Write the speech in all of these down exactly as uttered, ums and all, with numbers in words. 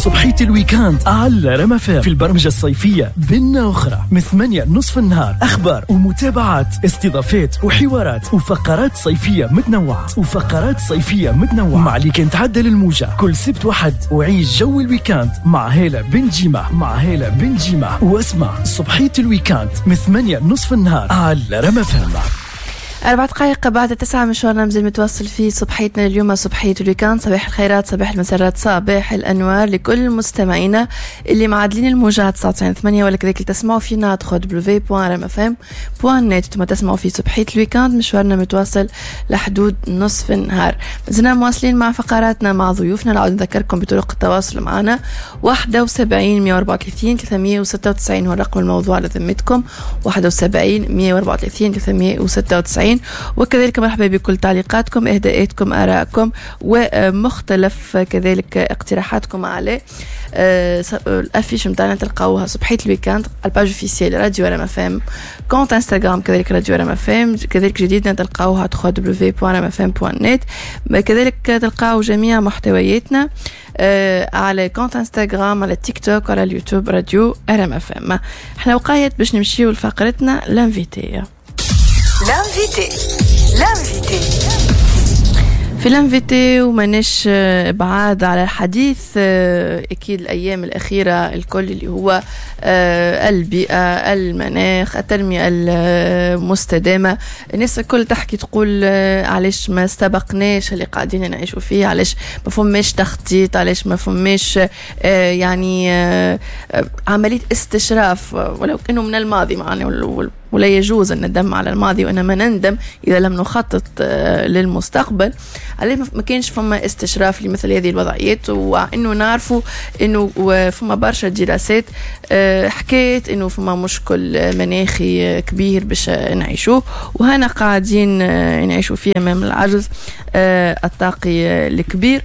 صبحية ال week-end على رام أف أم في البرمجة الصيفية بنا أخرى من ثمانية نصف النهار، أخبار ومتابعات، استضافات وحوارات وفقرات صيفية متنوعة وفقرات صيفية متنوعة مع اللي كان تعدل الموجة كل سبت وحد، وعيش جو ال week-end مع هالة بن جيمة مع هالة بن جيمة واسمع صبحية ال week-end من ثمانية نصف النهار على رام أف أم. أربع دقائق بعد تسعة، مشوارنا مازال متواصل في صبحيتنا اليوم، صبحية ال week-end. صباح الخيرات، صباح المسرات، صباح الأنوار لكل مستمعينا اللي معادلين الموجة تسعة وتسعين ثمانية ولا كذلك اللي تسمعوا فينا دبليو دبليو دبليو دوت رام اف ام دوت نت. ثم تسمعوا في صبحية ال week-end، مشوارنا متواصل لحدود نصف النهار. مازلنا مواصلين مع فقراتنا مع ضيوفنا. نعاود نذكركم بطرق التواصل معنا: واحد وسبعين مية وأربعة وثلاثين ثلاثمية وستة وتسعين هو الرقم الموضوع على ذمتكم، واحد وسبعين مية وأربعة وثلاثين ثلاثمية وستة وتسعين. وكذلك مرحبا بكل تعليقاتكم، اهداءاتكم، ارائكم ومختلف كذلك اقتراحاتكم على ال affiche نتاعنا، تلقاوها صبحية ال week-end ال page officielle راديو رام اف ام، compte انستغرام كذلك راديو رام اف ام، كذلك جديدنا تلقاوها دبليو دبليو دبليو دوت رام اف ام دوت نت. كذلك تلقاو جميع محتوياتنا على compte انستغرام، على تيك توك، على اليوتيوب راديو رام اف ام. احنا وقايت باش نمشيو لفقرتنا l'invité. l'invité l'invité في l'invité، وماناش بعاد على الحديث اكيد الايام الاخيرة الكل اللي هو البيئه، المناخ، التنمية المستدامه. الناس الكل تحكي، تقول علاش ما استبقناش اللي قاعدين نعيشوا فيه، علاش ما فماش تخطيط، علاش ما فماش يعني عملية استشراف ولو انه من الماضي معنا، ولا يجوز الندم على الماضي وإنما نندم إذا لم نخطط للمستقبل. عليه ما كانش فما استشراف لمثل هذه الوضعيات، وإنه نعرفوا إنه فما برشا دراسات حكيت إنه فما مشكل مناخي كبير باش نعيشوه، وهنا قاعدين نعيشوا فيه أمام العجز الطاقي الكبير.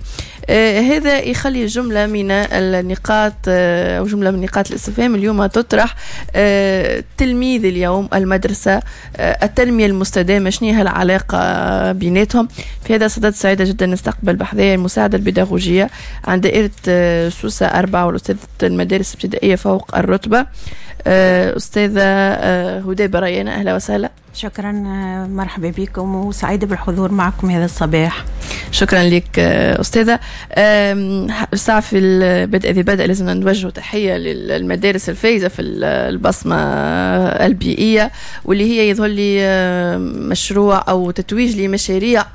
آه هذا يخلي جملة من النقاط آه أو جملة من نقاط الاستفهام اليوم تطرح. آه تلميذ اليوم، المدرسة، آه التنمية المستدامة، شنو هي العلاقة بيناتهم؟ في هذا الصدد سعيدة جدا نستقبل بحذايا المساعدة البيداغوجية عن دائرة آه سوسة أربعة والأستاذة المدارس الابتدائية فوق الرتبة، آه أستاذة آه هدى بريانة. أهلا وسهلا. شكرا، مرحبا بكم وسعيدة بالحضور معكم هذا الصباح. شكرا لك أستاذة. الساعة في البدء ذي بدء لازم نوجه تحية للمدارس الفايزة في البصمة البيئية، واللي هي يظهر لي مشروع أو تتويج لمشاريع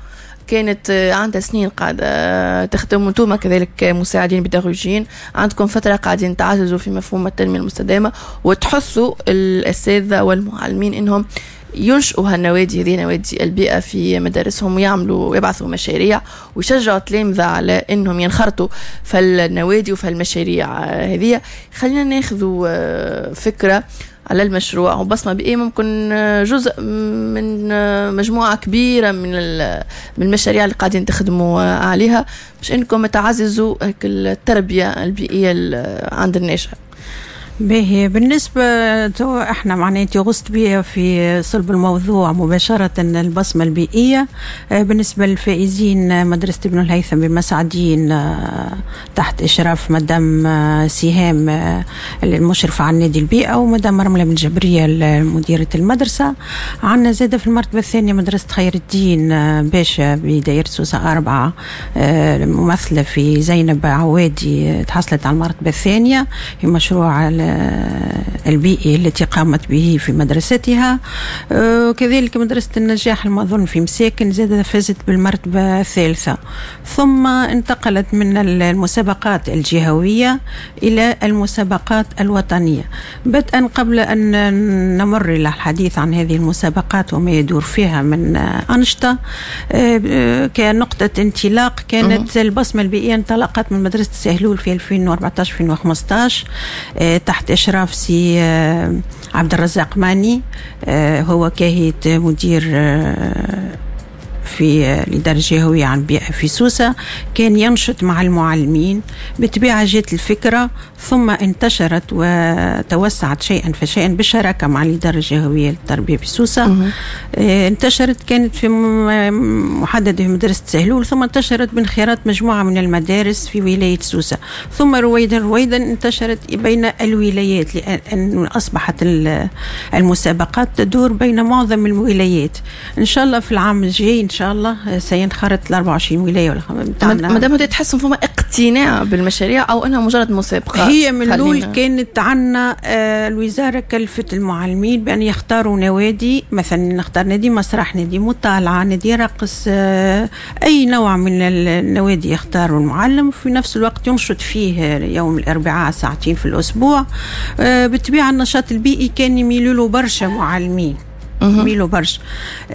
كانت عندها سنين قاعدة تخدم، وانتم كذلك مساعدين بيداغوجيين عندكم فترة قاعدين تعززوا في مفهوم التنمية المستدامة وتحثوا الأساتذة والمعلمين إنهم ينشئوا هالنوادي هذه، نوادي البيئة في مدارسهم، ويعملوا ويبعثوا مشاريع ويشجعوا التلامذة على انهم ينخرطوا في النوادي وفي المشاريع هذه. خلينا ناخذوا فكرة على المشروع وبصمة بيئية، ممكن جزء من مجموعة كبيرة من من المشاريع اللي قاعدين تخدموا عليها باش انكم تعززوا التربية البيئية عند الناشئ. باهي، بالنسبة تو احنا معناتها غصت بها في صلب الموضوع مباشرة، البصمة البيئية. بالنسبة للفائزين، مدرسة ابن الهيثم بمسعدين تحت إشراف مدام سهام المشرفة على نادي البيئة ومدام رملة بن جبرية مديرة المدرسة. عندنا زادة في المرتبة الثانية مدرسة خير الدين باشا بدائرة سوسة أربعة، ممثلة في زينب عوادي، تحصلت على المرتبة الثانية في مشروع البيئي التي قامت به في مدرستها. كذلك مدرسة النجاح المظن في مساكن زادت فازت بالمرتبة الثالثة. ثم انتقلت من المسابقات الجهوية إلى المسابقات الوطنية. بدءا قبل أن نمر إلى الحديث عن هذه المسابقات وما يدور فيها من أنشطة، كنقطة انطلاق كانت البصمة البيئية انطلقت من مدرسة سهلول في ألفين وأربعة عشر ألفين وخمسة عشر تحت إشراف سي عبد الرزاق ماني، هو كاهية مدير في الإدارة الجهوية عن البيئة في سوسة، كان ينشط مع المعلمين. بالطبيعة جات الفكرة ثم انتشرت وتوسعت شيئا فشيئا بالشراكة مع الإدارة الجهوية للتربية بسوسة. انتشرت، كانت في محددة في مدرسة سهلول، ثم انتشرت بانخراط مجموعة من المدارس في ولاية سوسة، ثم رويدا رويدا انتشرت بين الولايات، لأن أصبحت المسابقات تدور بين معظم الولايات. إن شاء الله في العام الجاي إن شاء الله سينخرط ال أربعة وعشرين ولاية ولا ما دام تحسوا فما اقتناع بالمشاريع أو أنها مجرد مسابقات. هي من الأول كانت عنا الوزارة كلفت المعلمين بأن يختاروا نوادي، مثلا نختار نادي مسرح، نادي مطالعة، نادي رقص، أي نوع من النوادي يختاروا المعلم، في نفس الوقت ينشط فيه يوم الأربعاء ساعتين في الأسبوع. بالطبيعة النشاط البيئي كان يميلوا له برشا معلمين، يميلوا برشا.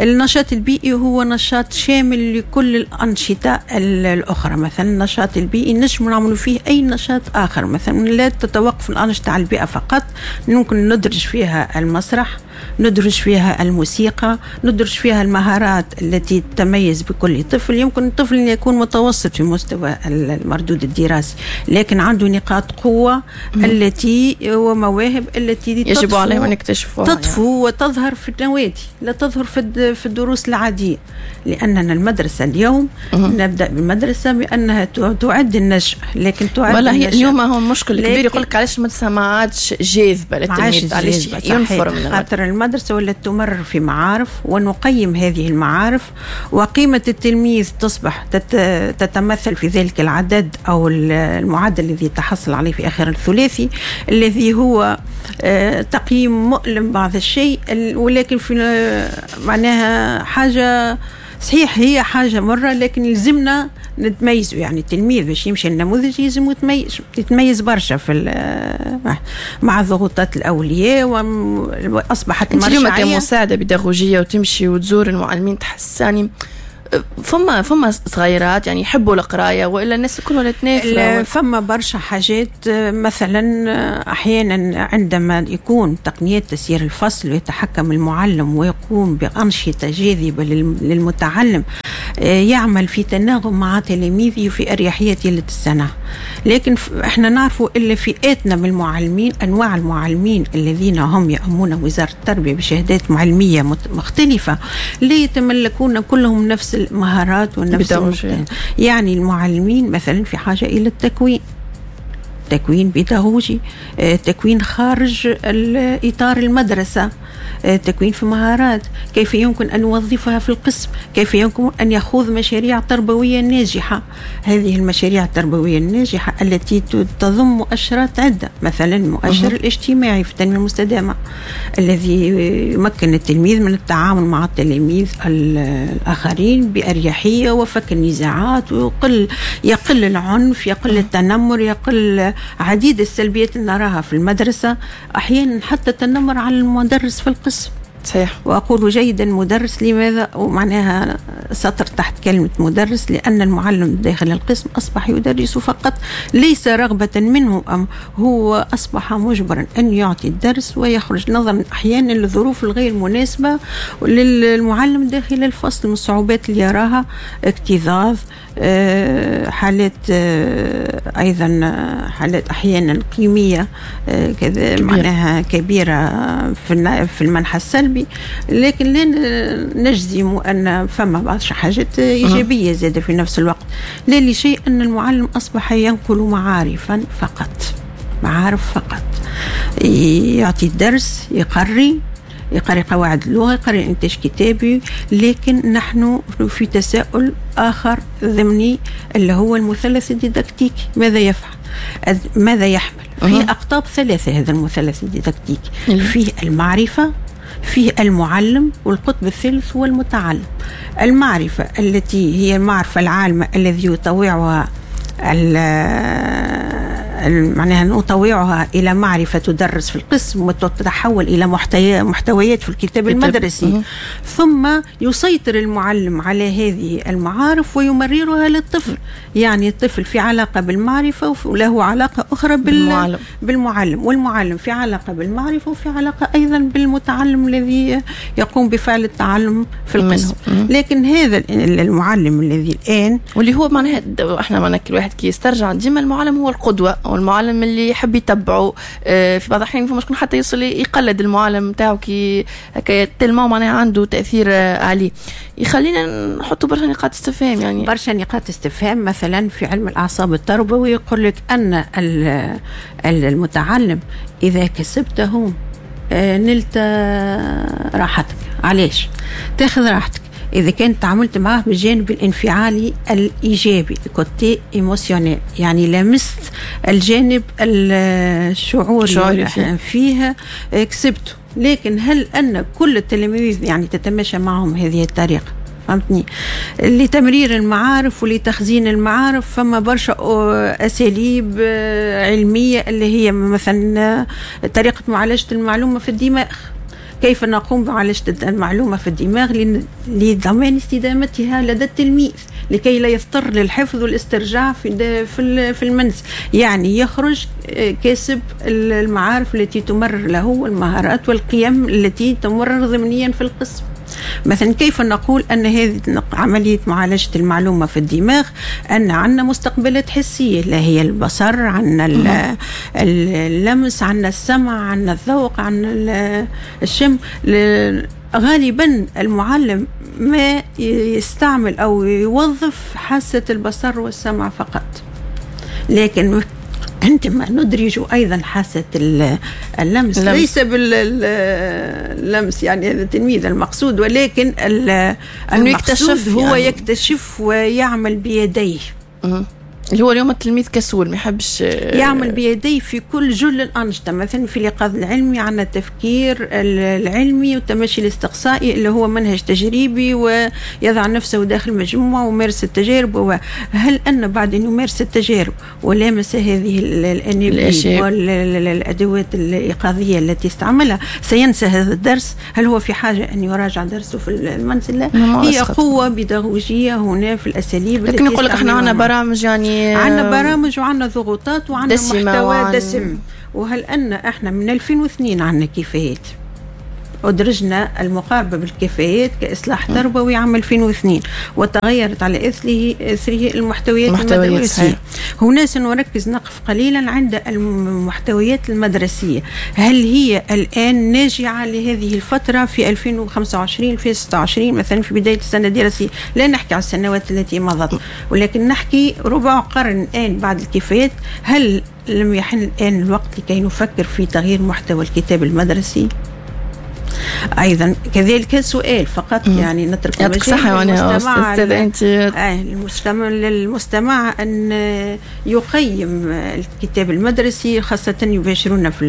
النشاط البيئي هو نشاط شامل لكل الأنشطة الأخرى. مثلا النشاط البيئي نجم نعمل فيه أي نشاط آخر، مثلا لا تتوقف الأنشطة على البيئة فقط، ممكن ندرج فيها المسرح، ندرج فيها الموسيقى، ندرج فيها المهارات التي تتميز بكل طفل. يمكن الطفل أن يكون متوسط في مستوى المردود الدراسي، لكن عنده نقاط قوة التي ومواهب التي يجب عليهم أن يكتشفوها، تطفو يعني. وتظهر في النوادي، لا تظهر في في الدروس العادية، لأننا المدرسة اليوم مم. نبدأ بالمدرسة بأنها تعد النشأ، لكن تعد والله النشأ. اليوم هو مشكل كبير، يقول لك علاش المدرسة ما عادش جاذبة للتلميذ، علاش ينفر من خاطر المدرسة ولا تمرر في معارف، ونقيم هذه المعارف، وقيمة التلميذ تصبح تتمثل في ذلك العدد أو المعدل الذي تحصل عليه في آخر الثلاثي، الذي هو تقييم مؤلم بعض الشيء، ولكن في معناها حاجة صحيح هي حاجة مرة، لكن يلزمنا نتميزوا. يعني التلميذ باش يمشي النموذج يلزم يتميز يتميز برشا في مع ضغوطات الأولياء، وأصبحت المرجعية. اليوم كمساعدة بيداغوجية وتمشي وتزور المعلمين، تحس يعني فما فما صغيرات يعني يحبوا القراية، والا الناس الكل ولا تنافر؟ فما برشا حاجات. مثلا احيانا عندما يكون تقنيات تسيير الفصل ويتحكم المعلم ويقوم بانشطه جاذبة للمتعلم، يعمل في تناغم مع تلاميذه وفي اريحية طيلة السنة. لكن احنا نعرفوا الا فئاتنا من المعلمين، انواع المعلمين الذين هم يأمون وزارة التربية بشهادات معلميه مختلفة، لا يتملكون كلهم نفس المهارات والنفس. يعني المعلمين مثلا في حاجة إلى التكوين، تكوين بيداغوجي، تكوين خارج إطار المدرسة، تكوين في مهارات، كيف يمكن أن نوظفها في القسم، كيف يمكن أن يخوض مشاريع تربوية ناجحة. هذه المشاريع التربوية الناجحة التي تضم مؤشرات عدة، مثلا المؤشر الاجتماعي في التنمية المستدامة الذي يمكن التلميذ من التعامل مع التلاميذ الآخرين بأريحية وفك النزاعات، ويقل يقل العنف، يقل التنمر، يقل عديد السلبيات اللي نراها في المدرسة، أحيانا حتى التنمر على المدرس في القسم. صحيح. وأقول جيدا مدرس، لماذا؟ ومعناها سطر تحت كلمة مدرس، لأن المعلم داخل القسم أصبح يدرس فقط ليس رغبة منه، أم هو أصبح مجبرا أن يعطي الدرس ويخرج، نظرا أحيانا للظروف الغير مناسبة للمعلم داخل الفصل، من الصعوبات اللي يراها، اكتظاظ، حالات أيضا حالات أحيانا قيمية كذا معناها كبيرة في المنحى السلبي. لكن لا نجزم أن فما بعض حاجات إيجابية زادة في نفس الوقت، لا لشيء أن المعلم أصبح ينقل معارفا فقط، معارف فقط، يعطي الدرس، يقري يقري قواعد اللغة، يقري إنتاج كتابي. لكن نحن في تساؤل آخر ضمني اللي هو المثلث الديداكتيكي، ماذا يفعل؟ ماذا يحمل؟ فيه أقطاب ثلاثة هذا المثلث الديداكتيكي، فيه المعرفة، فيه المعلم، والقطب الثالث هو المتعلم. المعرفة التي هي المعرفة العامة الذي يطوعها معناها نطوعها إلى معرفة تدرس في القسم وتتحول إلى محتويات في الكتاب المدرسي، ثم يسيطر المعلم على هذه المعارف ويمررها للطفل. يعني الطفل في علاقة بالمعرفة وله علاقة أخرى بالمعلم. بالمعلم، والمعلم في علاقة بالمعرفة وفي علاقة أيضا بالمتعلم الذي يقوم بفعل التعلم في القسم. لكن هذا المعلم الذي الآن واللي هو معناها احنا معناها كل واحد كي يسترجع ديما المعلم هو القدوة أو المعلم اللي يحب يتبعه. في بعض الأحيان فما شكون حتى يوصل يقلد المعلم نتاعو كي هكا تلمو معناها عنده تأثير عليه. يخلينا نحطوا برشا نقاط استفهام، يعني برشا نقاط استفهام. مثلا في علم الأعصاب التربوي يقول لك أن المتعلم إذا كسبته نلت راحتك. علاش تاخذ راحتك؟ إذا كنت تعاملت معه بالجانب الانفعالي الإيجابي، côté émotionnel، يعني لمست الجانب الشعوري فيها كسبته. لكن هل أن كل التلاميذ يعني تتماشى معهم هذه الطريقة؟ فهمتني؟ لتمرير المعارف ولتخزين المعارف فما برشا أساليب علمية اللي هي مثلا طريقة معالجة المعلومة في الدماغ. كيف نقوم بمعالجة المعلومة في الدماغ لضمان استدامتها لدى التلميذ لكي لا يضطر للحفظ والاسترجاع في في المنزل. يعني يخرج كاسب المعارف التي تمرر له والمهارات والقيم التي تمرر ضمنيا في القسم. مثلا كيف نقول أن هذه عملية معالجة المعلومة في الدماغ أن عندنا مستقبلات حسية اللي هي البصر، عندنا اللمس، عندنا السمع، عندنا الذوق، عندنا الشم. غالبا المعلم ما يستعمل أو يوظف حاسة البصر والسمع فقط، لكن عندما ندرج أيضا حاسة اللمس، ليس باللمس يعني هذا التلميذ المقصود، ولكن المقصود هو يعني يكتشف ويعمل بيديه. اللي هو اليوم التلميذ كسول ما يحبش يعمل بيديه في كل جل الأنشطة. مثلا في الإيقاظ العلمي عندنا التفكير العلمي والتمشي الاستقصائي اللي هو منهج تجريبي ويضع نفسه داخل مجموعة ويمارس التجارب. هل أن بعد أن يمارس التجارب ولامس هذه الأنابيب والأدوات الإيقاظية التي استعملها سينسى هذا الدرس؟ هل هو في حاجة أن يراجع درسه في المنزل؟ لا، هي قوة بيداغوجية هنا في الأساليب. لكن يقول لك احنا عندنا برامج، يعني عندنا برامج وعندنا ضغوطات وعندنا محتوى وعن... دسم. وهل أن احنا من ألفين واثنين عندنا كفايات، أدرجنا المقاربة بالكفايات كإصلاح تربوي عام ألفين واثنين وتغيرت على إثره إثره المحتويات المدرسية. هنا سنركز نقف قليلا عند المحتويات المدرسية. هل هي الآن ناجعة لهذه الفترة في ألفين وخمسة وعشرين ألفين وستة وعشرين مثلا في بداية السنة الدراسية؟ لا نحكي على السنوات التي مضت، ولكن نحكي ربع قرن الآن بعد الكفايات. هل لم يحن الآن الوقت لكي نفكر في تغيير محتوى الكتاب المدرسي؟ أيضا كذلك سؤال فقط، يعني نترك المجال للمستمع المستمع للمستمع أن يقيم الكتاب المدرسي، خاصة يباشرون في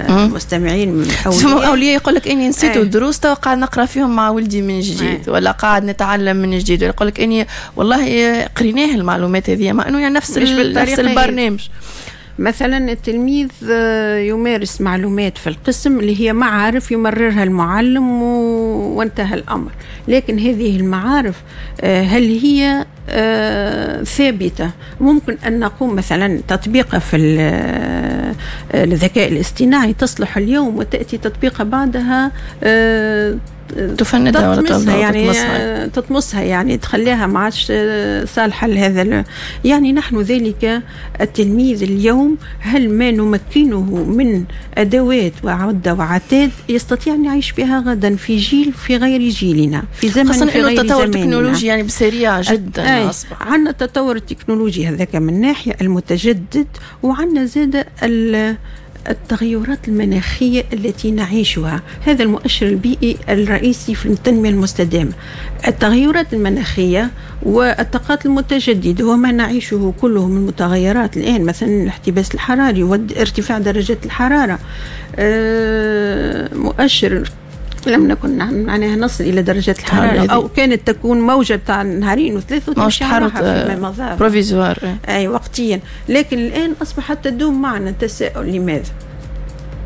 المستمعين من أولياء أولياء يقول لك إني نسيت الدروس تو قاعد نقرأ فيهم مع ولدي من جديد، ولا قاعد نتعلم من جديد، ولا يقول لك إني والله قريناه المعلومات هذه، مع إنه يعني نفس نفس البرنامج. مثلا التلميذ يمارس معلومات في القسم اللي هي معارف يمررها المعلم وانتهى الأمر، لكن هذه المعارف هل هي ثابتة؟ ممكن أن نقوم مثلا تطبيقها في الذكاء الاصطناعي تصلح اليوم وتأتي تطبيقها بعدها تفندها ولا تطمسها، يعني تطمسها. تطمسها يعني تخليها ما عادش صالحة لهذا. يعني نحن ذلك التلميذ اليوم هل ما نمكنه من أدوات وعدة وعتاد يستطيع أن يعيش بها غدا في جيل في غير جيلنا، في زمن في غير زماننا؟ التطور التكنولوجي يعني بسريع جدا أصبح. عندنا التطور التكنولوجي هذاك من ناحية المتجدد، وعندنا زاد التغيرات المناخية التي نعيشها. هذا المؤشر البيئي الرئيسي في التنمية المستدامة، التغيرات المناخية والطاقات المتجددة وما نعيشه كله من متغيرات الآن، مثلا الاحتباس الحراري وارتفاع درجات الحرارة. مؤشر لم نكن معناها نصل الى درجات الحرارة، او كانت تكون موجه تاع نهارين وثلاثة وتمشي فيما مضى provisoire، اي وقتيا. لكن الان اصبحت تدوم معنا. تساؤل لماذا؟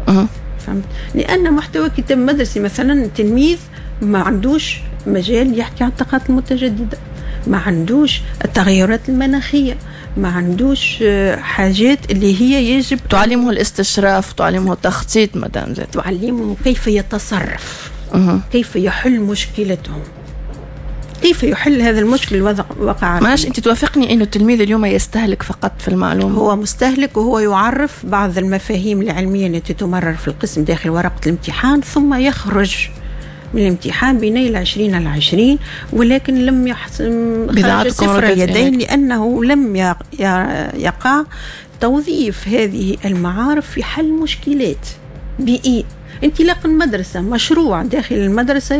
أه. فهمت؟ لان محتوى كتاب مدرسي مثلا التلميذ ما عندوش مجال يحكي عن الطاقات المتجددة، ما عندوش التغيرات المناخية، ما عندوش حاجات اللي هي يجب تعلمه الاستشراف، تعلمه التخطيط مدام زاد، تعلمه كيف يتصرف، أه. كيف يحل مشكلته، كيف يحل هذا المشكل الوضع وقع. ماش انت توافقني انه التلميذ اليوم يستهلك فقط في المعلومة؟ هو مستهلك، وهو يعرف بعض المفاهيم العلمية التي تمرر في القسم داخل ورقة الامتحان، ثم يخرج من الامتحان بنيل عشرين على عشرين، ولكن لم يحصل صفر يدين، لأنه لم يقع توظيف هذه المعارف في حل مشكلات بيئية. انطلاق المدرسة، مشروع داخل المدرسة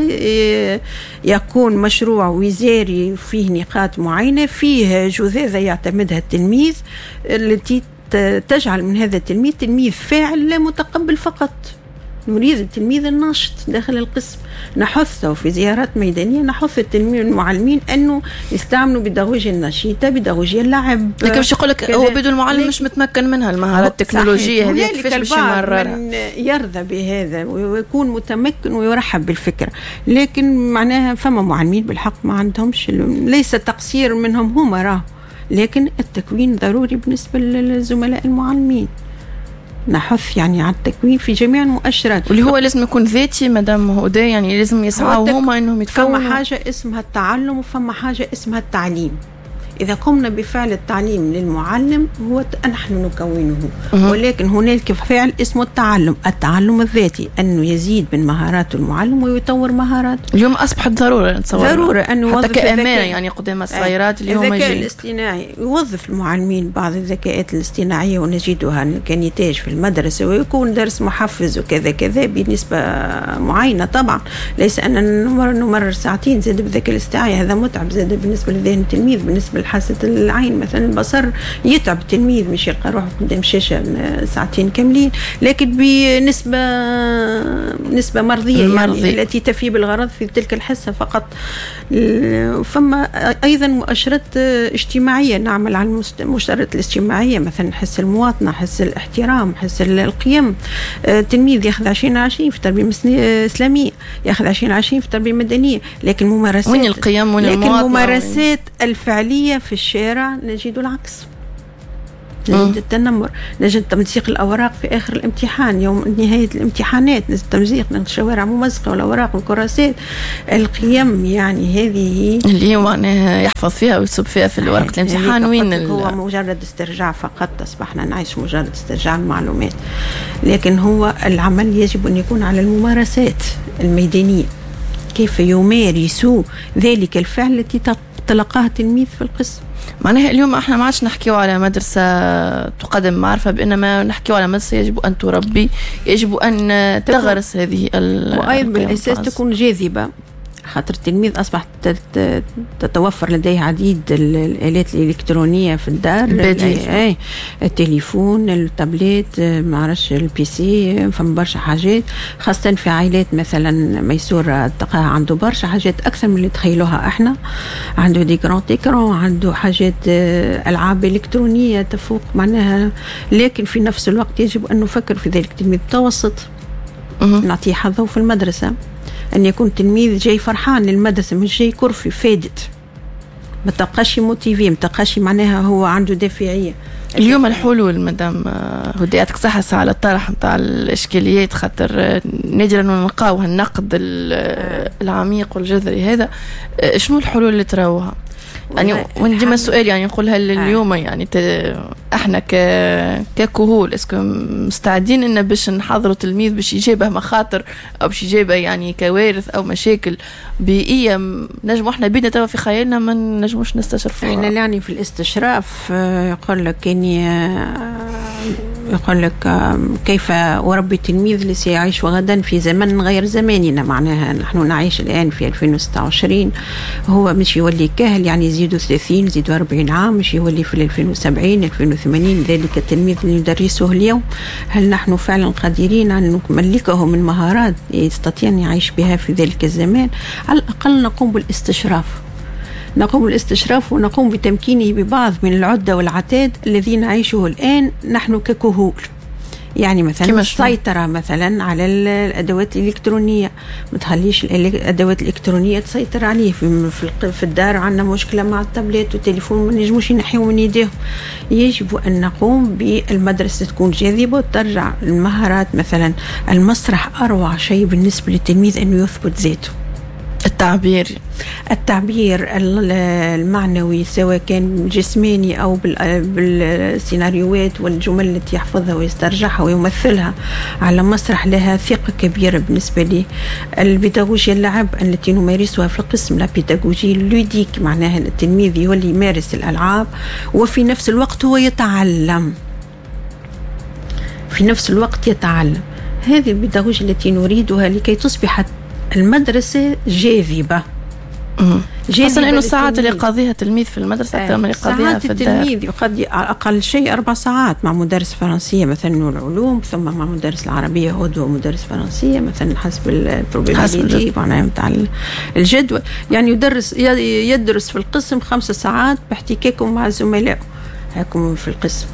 يكون مشروع وزاري فيه نقاط معينة، فيه جذاذة يعتمدها التلميذ التي تجعل من هذا التلميذ تلميذ فاعل لا متقبل فقط. نريد التلميذ الناشط داخل القسم، نحثه في زيارات ميدانية، نحث التلميذ المعلمين أنه يستعملوا بيداغوجيا النشيطة، بيداغوجيا اللعب. لكن باش يقول لك هو بدون المعلم مش متمكن منها المهارات التكنولوجية هذه، كيفاش باش يمررها؟ يرضى بهذا ويكون متمكن ويرحب بالفكرة، لكن معناها فما معلمين بالحق ما عندهمش، ليس تقصير منهم هما راه، لكن التكوين ضروري بالنسبة للزملاء المعلمين. نحث يعني على التكوين في جميع المؤشرات، واللي هو لازم يكون ذاتي مدام هدى، يعني لازم يسعوا هما انهم يتكونوا. فما حاجة اسمها التعلم وفما حاجة اسمها التعليم. إذا قمنا بفعل التعليم للمعلم هو نحن نكونه، ولكن هنالك فعل اسمه التعلم، التعلم الذاتي، أنه يزيد من مهارات المعلم ويطور مهاراته. اليوم أصبحت ضرورة نتصور، ضرورة أنه حتى كأمانة يعني قدام الصغيرات اليوم الذكاء الاصطناعي يوظف المعلمين بعض الذكاءات الاصطناعية ونجدها كنتاج في المدرسة، ويكون درس محفز وكذا كذا بنسبة معينة. طبعا ليس أن نمرر ساعتين زاد بالذكاء الاصطناعي، هذا متعب زاد بالنسبة لذهن التلميذ، بالنسبة حاسة العين مثلا، البصر يتعب التلميذ مش يلقى روحه قدام شاشة ساعتين كاملين، لكن بنسبة نسبة مرضية يعني التي تفي بالغرض في تلك الحصة فقط. فما أيضا مؤشرات اجتماعية، نعمل على المؤشرات الاجتماعية مثلا حس المواطنة، حس الاحترام، حس القيم. التلميذ ياخذ عشرين عشرين في التربية الإسلامية، ياخذ عشرين عشرين في التربية المدنية، لكن ممارسات وين القيم وين لكن الممارسات الفعلية في الشارع نجد العكس، نجد التنمر، نجد تمزيق الأوراق في آخر الامتحان، يوم نهاية الامتحانات نجد تمزيق، نجد الشوارع ممزقة والأوراق والكراسات. القيم يعني هذه اللي هو معناها يحفظ فيها ويصب فيها في ورقة الامتحان. وين هو مجرد استرجاع فقط، أصبحنا نعيش مجرد استرجاع المعلومات، لكن هو العمل يجب أن يكون على الممارسات الميدانية، كيف يمارس ذلك الفعل التي تلقاه التلميذ في القسم. معناها اليوم احنا ما عادش نحكيو على مدرسة تقدم معرفة، بإنما نحكيو على مدرسة يجب أن تربي، يجب أن تغرس هذه ال وأيضا بالأساس تكون جاذبة، خاطر التلميذ أصبح تتوفر لديه عديد الآلات الإلكترونية في الدار، البديل، التليفون، التابلت، ما عرفش ال PC، فما برشا حاجات، خاصة في عائلات مثلا ميسورة تلقاها عنده برشا حاجات أكثر من اللي تخيلوها احنا، عنده des grands écrans، عنده حاجات ألعاب إلكترونية تفوق معناها. لكن في نفس الوقت يجب أن نفكر في ذلك التلميذ المتوسط، نعطيه حظه في المدرسة، أن يكون تلميذ جاي فرحان للمدرسة، مش جاي كرفي فادت، ما تلقاش motivé، ما تلقاش معناها هو عنده دافعية. اليوم الحلول مدام هدى، يعطيك صحة على الطرح نتاع الإشكاليات، خاطر نادرا ما نلقاو النقد العميق والجذري هذا. شنو الحلول اللي تراوها؟ يعني وديما السؤال يعني نقولها اليوم، يعني احنا ك ككهول est-ce que مستعدين ان باش نحضروا تلميذ باش يجابه مخاطر او باش يجابه يعني كوارث او مشاكل بيئية نجموا احنا بينا توا في خيالنا ما نجموش نستشرفوها. احنا يعني في الاستشراف يقول لك اني يقول لك كيف أربي التلميذ اللي سيعيش غدا في زمن غير زماننا. معناها نحن نعيش الآن في ألفين وستة وعشرين، هو مش يولي كهل، يعني يزيدوا ثلاثين يزيدوا أربعين عام، مش يولي في ألفين وسبعين ألفين وثمانين. ذلك التلميذ اللي ندرسه اليوم هل نحن فعلا قادرين أن نملكه من مهارات يستطيع أن يعيش بها في ذلك الزمان؟ على الأقل نقوم بالاستشراف، نقوم بالاستشراف ونقوم بتمكينه ببعض من العدة والعتاد الذي نعيشه الآن نحن ككهول. يعني مثلا السيطرة مثلا على الأدوات الإلكترونية، ما تخليش الأدوات الإلكترونية تسيطر عليه. في في الدار عندنا مشكلة مع التابلت والتليفون، ما نجموش ينحيو من يديهم. يجب أن نقوم بالمدرسة تكون جاذبة وترجع المهارات. مثلا المسرح أروع شيء بالنسبة للتلميذ أنه يثبت ذاته، التعبير التعبير المعنوي سواء كان جسماني أو بالسيناريوهات والجمل التي يحفظها ويسترجعها ويمثلها على مسرح لها ثقة كبيرة بالنسبة لي. البيداغوجيا اللعب التي نمارسها في القسم، la pédagogie ludique، معناها التلميذ يولي يمارس الألعاب وفي نفس الوقت هو يتعلم، في نفس الوقت يتعلم. هذه البيداغوجيا التي نريدها لكي تصبح المدرسة جاذبة. خاصة أنه الساعات اللي يقضيها التلميذ في المدرسة أكثر من اللي يقضيها في الدار. التلميذ يقضي أقل شيء أربع ساعات مع مدرس فرنسية مثلا والعلوم، ثم مع مدرس العربية غدوة ومدرس فرنسية مثلا حسب ال probabilité معناها نتاع الجدول. يعني يدرس يدرس في القسم خمس ساعات باحتكاكه مع زملائه هاكم في القسم.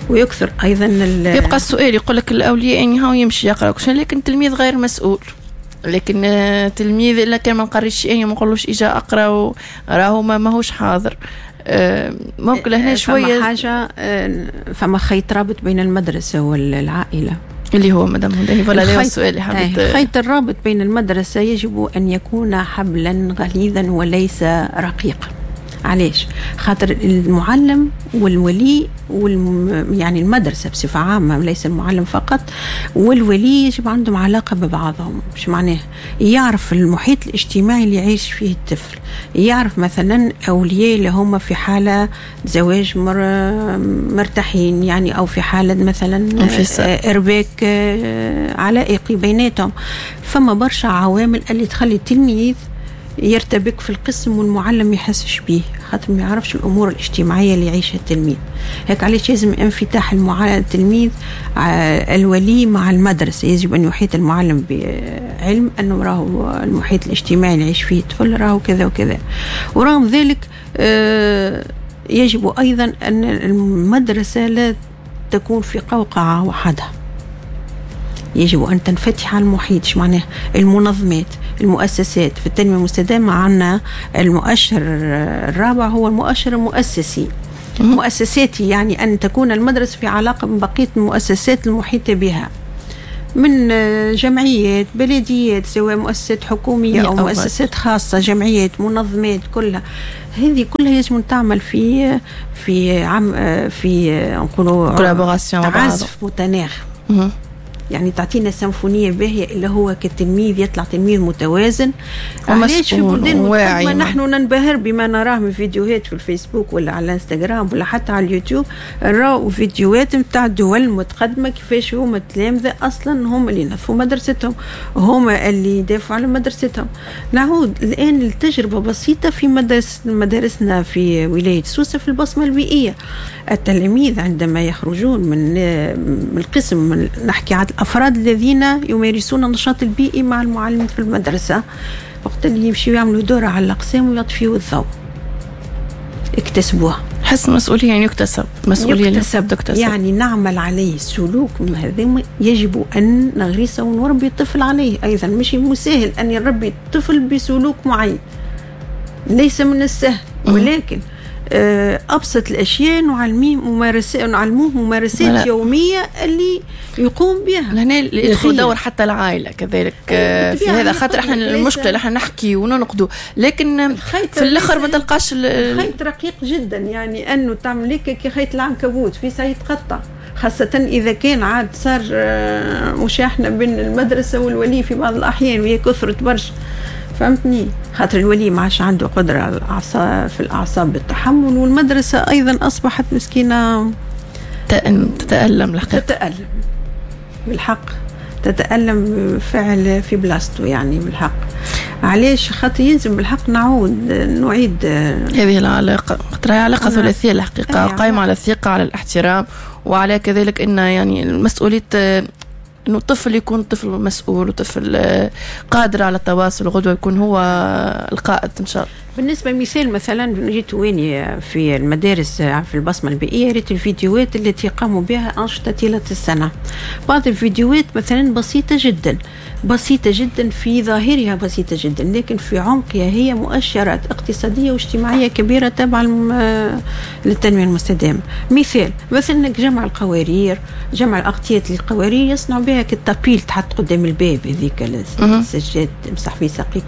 ويكثر أيضا يبقى السؤال يقول لك الأولياء يعني هاو يمشي يقرأ، لكن التلميذ غير مسؤول. لكن تلميذ الا كان ما نقريش يعني ما نقولوش اجا اقرا راهو ما ماهوش حاضر. ممكن هنا شوية فما حاجة، فما خيط رابط بين المدرسة والعائلة اللي هو مدام هدى ولا لا السؤال اللي حبيت. خيط الرابط بين المدرسة يجب ان يكون حبلا غليظا وليس رقيقا. علاش؟ خاطر المعلم والولي والم... يعني المدرسة بصفة عامة ليس المعلم فقط، والولي يجب عندهم علاقة ببعضهم. مش معناه يعرف المحيط الاجتماعي اللي يعيش فيه الطفل، يعرف مثلا أولياء اللي هم في حالة زواج مر... مرتاحين يعني، أو في حالة مثلا إرباك علائقي بيناتهم. فما برشا عوامل اللي تخلي التلميذ يرتبك في القسم والمعلم يحسش بيه، خاطر ما يعرفش الامور الاجتماعية اللي يعيشها التلميذ. هيك علاش لازم انفتاح المعلم التلميذ الولي مع المدرسة. يجب ان يحيط المعلم بعلم انه راهو المحيط الاجتماعي اللي يعيش فيه الطفل راهو كذا وكذا. ورغم ذلك يجب ايضا ان المدرسة لا تكون في قوقعه وحدها، يجب أن تنفتح على المحيط. ايش معناه؟ المنظمات، المؤسسات. في التنمية المستدامة عندنا المؤشر الرابع هو المؤشر المؤسسي. مؤسساتي يعني أن تكون المدرسة في علاقة ببقية المؤسسات المحيطة بها من جمعيات، بلديات، سواء مؤسسات حكومية أو مؤسسات خاصة، جمعيات، منظمات، كلها هذه كلها يجب أن تعمل في في عم في نقولوا عزف متناغم. يعني تعطينا سيمفونية باهية اللي هو كتلميذ يطلع تلميذ متوازن. علاش في بلدان متقدمة نحن ننبهر بما نراه من فيديوهات في الفيسبوك ولا على الانستغرام ولا حتى على اليوتيوب، نراو فيديوهات نتاع دول متقدمة كيفاش هما التلامذة أصلا هم اللي نظفوا مدرستهم، هما اللي يدافعوا على مدرستهم. نعود الآن لتجربة بسيطة في مدرس مدارسنا في ولاية سوسة في البصمة البيئية. التلاميذ عندما يخرجون من من القسم، من نحكي عن الأفراد الذين يمارسون النشاط البيئي مع المعلم في المدرسة، وقت اللي يمشيوا يعملوا دورة على الأقسام ويطفيوا الضوء، اكتسبوها. حس مسؤولية يعني يكتسب مسؤولية، يكتسب. تكتسب. يعني نعمل عليه السلوك هذا يجب أن نغرسه ونربي الطفل عليه أيضا. مش مسهل أن يربي الطفل بسلوك معين، ليس من السهل، ولكن أبسط الأشياء نعلميه ممارسات، نعلموه ممارسات يومية اللي يقوم بها. هنا يدخل دور حتى العائلة كذلك في هذا، خاطر احنا المشكلة احنا نحكي وننقدوا، لكن في الآخر ما تلقاش الخيط رقيق جدا، يعني أنه تعمل لك كي خيط العنكبوت في ساعة يتقطع، خاصة إذا كان عاد صار مشاحنة بين المدرسة والولي في بعض الأحيان، وهي كثرت برشا. فهمتني؟ خاطر الولي ما عادش عنده قدرة على الأعصاب في الأعصاب بالتحمل، والمدرسة أيضا أصبحت مسكينة تتألم الحقيقة، تتألم بالحق، تتألم فعل في بلاصته يعني بالحق. علاش؟ خاطر يلزم بالحق نعود نعيد هذه العلاقة، خاطر هي علاقة ثلاثية الحقيقة، قائمة على الثقة، على الاحترام، وعلى كذلك أن يعني المسؤولية، انه الطفل يكون طفل مسؤول وطفل قادر على التواصل، وغدوه يكون هو القائد ان شاء الله. بالنسبة لمثال مثلا جيت وين في المدارس في البصمة البيئية، ريت الفيديوهات التي قاموا بها انشطة طيلة السنة. بعض الفيديوهات مثلا بسيطة جدا، بسيطة جدا في ظاهرها، بسيطة جدا، لكن في عمقها هي مؤشرات اقتصادية واجتماعية كبيرة تابعه للتنمية المستدامة. مثال مثلا جمع القوارير، جمع الاغطيه للقوارير يصنعوا بها كال tapis تحط قدام الباب، هذيك السجاد تمسح فيه ساقيك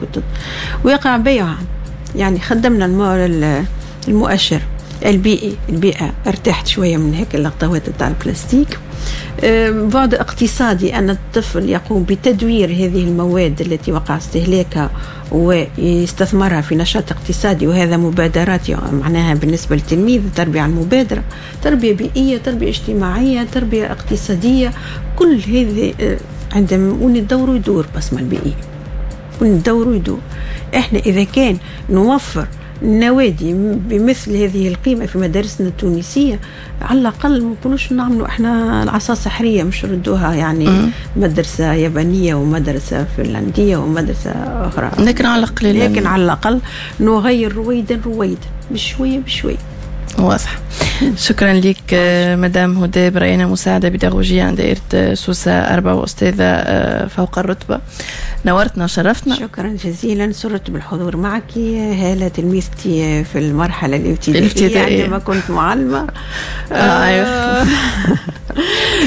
ويقع بيعها. يعني خدمنا المؤشر البيئي، البيئة ارتاحت شوية من هيك الغطاوات تاع البلاستيك. بعد اقتصادي أن الطفل يقوم بتدوير هذه المواد التي وقع استهلاكها ويستثمرها في نشاط اقتصادي، وهذا مبادرات معناها بالنسبة للتلميذ، تربية على المبادرة، تربية بيئية، تربية اجتماعية، تربية اقتصادية، كل هذه عندما وندور يدور بصمة البيئية، وندور يدور. احنا إذا كان نوفر نوادي بمثل هذه القيمة في مدارسنا التونسية، على الأقل ما نكونوش نعملوا احنا العصا السحرية، مش ردوها يعني مم. مدرسة يابانية ومدرسة فنلندية ومدرسة أخرى، لكن على الأقل لكن على الأقل نغير رويدا رويدا، بشوية بشوية. واضح. شكرا لك مدام هدى بريانة، مساعدة بيداغوجية عند دائرة سوسة أربعة وأستاذة فوق الرتبة. نورتنا وشرفتنا. شكرا جزيلا، سررت بالحضور معك هالة، تلميذتي في المرحلة الابتدائية عندما كنت معلمة. آه أيوة.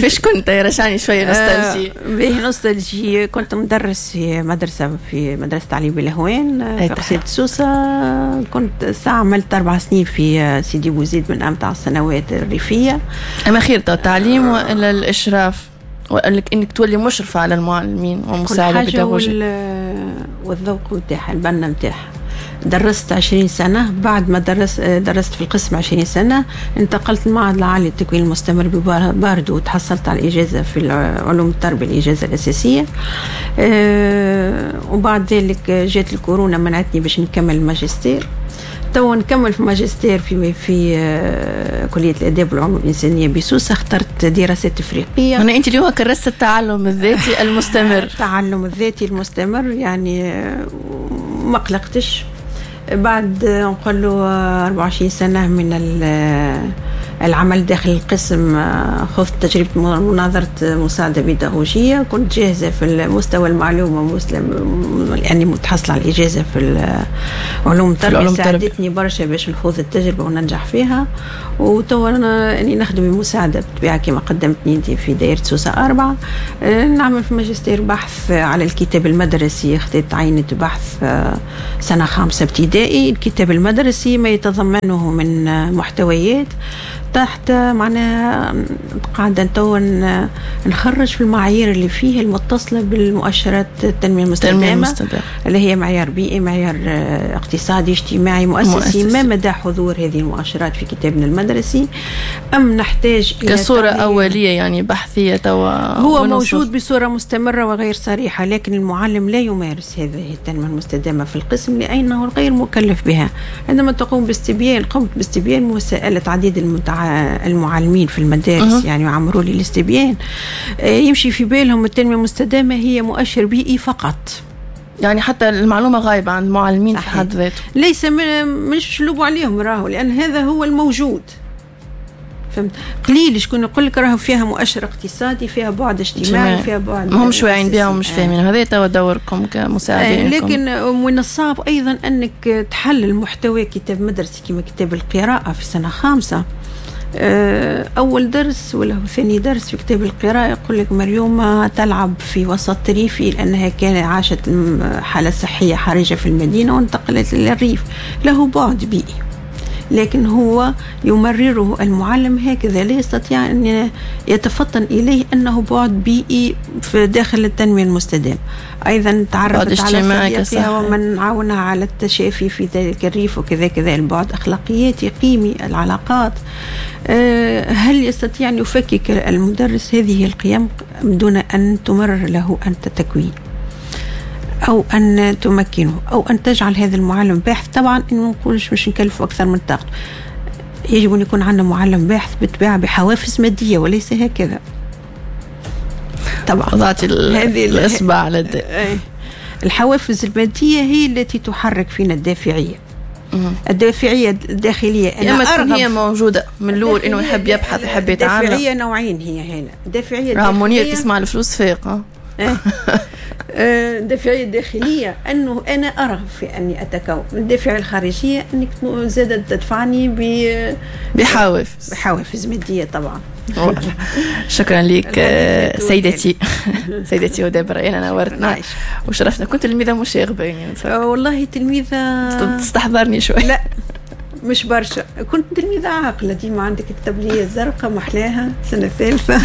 فيش كنت يا رشاني شوية nostalgie؟ به nostalgie، كنت مدرس في مدرسة، في مدرسة تعليم بالهوان في قصيدة سوسة. كنت ساعة عملت أربع سنين في سيدي بوزيد من أمتع السنوات الريفية. أما خير التعليم وإلا الإشراف، وإنك إنك تولي مشرفة على المعلمين ومساعدة بيداغوجية والذوق نتاعها، البنة نتاعها. درست عشرين سنة، بعد ما درس درست في القسم عشرين سنة انتقلت المعهد العالي للتكوين المستمر بباردو وتحصلت على الإجازة في علوم التربية، الإجازة الأساسية. أه وبعد ذلك جات الكورونا منعتني باش نكمل الماجستير. تو نكمل في ماجستير في في كلية الآداب والعلوم الإنسانية بسوسة. اخترت دراسات إفريقية. أنا أنت اليوم كرست التعلم الذاتي المستمر. التعلم الذاتي المستمر، يعني ما قلقتش. بعد نقول له أربعة وعشرين سنة من العمل داخل القسم، خذت تجربة مناظرة مساعدة بيداغوجية، كنت جاهزة في المستوى المعلومة مسلم، يعني متحصلة على الإجازة في علوم التربية، ساعدتني برشا باش نخوض التجربة وننجح فيها. وتوا أنا يعني نخدم بمساعدة بالطبيعة كما قدمتني أنت في دائرة سوسة أربعة. نعمل في ماجستير بحث على الكتاب المدرسي، خديت عينة بحث سنة خامسة ابتدائي، الكتاب المدرسي ما يتضمنه من محتويات تحت معناها قاعدة تو نخرج في المعايير اللي فيه المتصلة بالمؤشرات التنمية المستدامة اللي هي معيار بيئي، معيار اقتصادي، اجتماعي، مؤسسي. مؤسسي. ما مدى حضور هذه المؤشرات في كتابنا المدرسي؟ أم نحتاج إلى كصورة أولية يعني بحثية توا؟ هو موجود بصورة مستمرة وغير صريحة، لكن المعلم لا يمارس هذه التنمية المستدامة في القسم لأنه غير مكلف بها. عندما تقوم باستبيان، قمت باستبيان مساءلة عديد المتع المعلمين في المدارس. أه. يعني عمروا لي الاستبيان، يمشي في بالهم التنمية المستدامة هي مؤشر بيئي فقط، يعني حتى المعلومة غايبة عن المعلمين في حد ذاته، ليس مش لوبوا عليهم راهو، لأن هذا هو الموجود. فهمت؟ قليل شكون يقول لك راهو فيها مؤشر اقتصادي، فيها بعد اجتماعي، فيها بعد، ما همش واعيين بها ومش فاهمين. هذا توا دوركم كمساعدين. لكن من الصعب ايضا انك تحلل محتوى كتاب مدرسي كما كتاب القراءة في سنة خامسة. أول درس ولا ثاني درس في كتاب القراءة يقول لك مريومة تلعب في وسط ريفي لأنها كانت عاشت حالة صحية حرجة في المدينة وانتقلت للريف، له بعد بيئي. لكن هو يمرره المعلم هكذا، لا يستطيع أن يتفطن إليه أنه بعد بيئي في داخل التنمية المستدامة. أيضا تعرفت على صديقها ومن عاونها على التشافي في ذلك الريف وكذا كذا. البعد أخلاقياتي قيمي، العلاقات. هل يستطيع أن يفكك المدرس هذه القيم دون أن تمرر له أنت تكوين أو أن تمكنه أو أن تجعل هذا المعلم باحث؟ طبعا إنه نقولش مش نكلفه أكثر من طاقته، يجب أن يكون عندنا معلم باحث بالطبيعة بحوافز مادية وليس هكذا. طبعا وضعت الإصبع على الداء. الحوافز المادية هي التي تحرك فينا الدافعية، الدافعية الداخلية. أنا أرغب هي موجودة من الأول إنه يحب يبحث يحب يتعلم. الدافعية نوعين هي هنا، الدافعية الداخلية منير تسمع الفلوس فايقة. الدافعية الداخلية أنه أنا أرغب في أني أتكون. الدافعية الخارجية أنك زادت تدفعني ب بحوافز بحوافز مادية طبعا. شكرا لك سيدتي سيدتي هدى بريان، نورتنا وشرفتنا. كنت تلميذة مشاغبة يعني؟ والله تلميذة تستحضرني شوي. لا مش برشا، كنت تلميذة عاقلة ديما، عندك التبلية الزرقاء محلاها سنة ثالثة.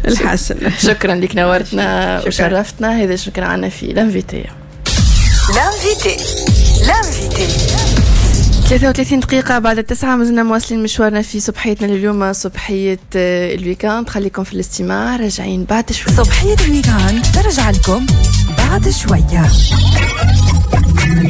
الحسن شكرا لك، نورتنا وشرفتنا. هذا شكرا عنا في l'invité. l'invité l'invité ثلاثة وثلاثين دقيقة بعد التسعة، مازلنا مواصلين مشوارنا في صبحيتنا لليوم، صبحية ال week-end. خليكم في الاستماع، راجعين بعد شوية. صبحية ال week-end ترجع لكم بعد شوية.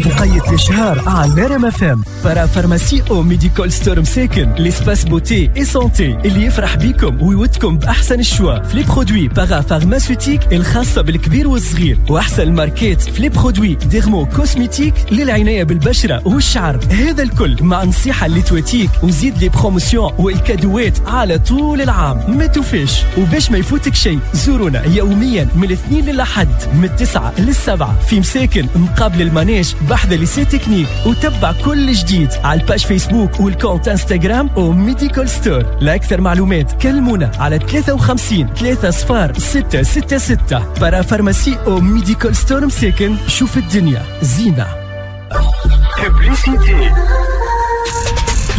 وقيت الإشهار على نرم فام parapharmacie او Medical Store مساكن l'espace beauté et santé اللي يفرح بيكم ويودكم باحسن ال choix في les produits parapharmaceutiques الخاصة بالكبير والصغير، واحسن الماركات في les produits dermo-cosmétiques للعنايه بالبشره والشعر. هذا الكل مع نصيحة اللي تواتيك وزيد les promotions والكادوات على طول العام. ما توفيش وباش ما يفوتك شيء، زورونا يوميا من الاثنين للأحد من التسعة للسبعة في مساكن مقابل ال manège بحذا lycée technique، وتبع كل جديد على ال page Facebook وال compte Instagram او Medical Store. لأكثر معلومات كلمونا على ثلاثة وخمسين ثلاثة صفار ستة ستة ستة. parapharmacie او Medical Store مساكن، شوف الدنيا زينة.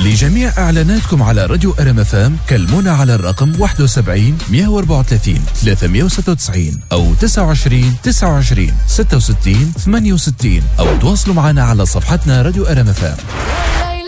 لجميع إعلاناتكم على راديو أر إم إف إم كلمونا على الرقم واحد وسبعين مئة وأربعة وثلاثين ثلاثمئة وستة وتسعين أو تسعة وعشرين تسعة وعشرين ستة وستين ثمانية وستين، أو تواصلوا معنا على صفحتنا راديو أر إم إف إم.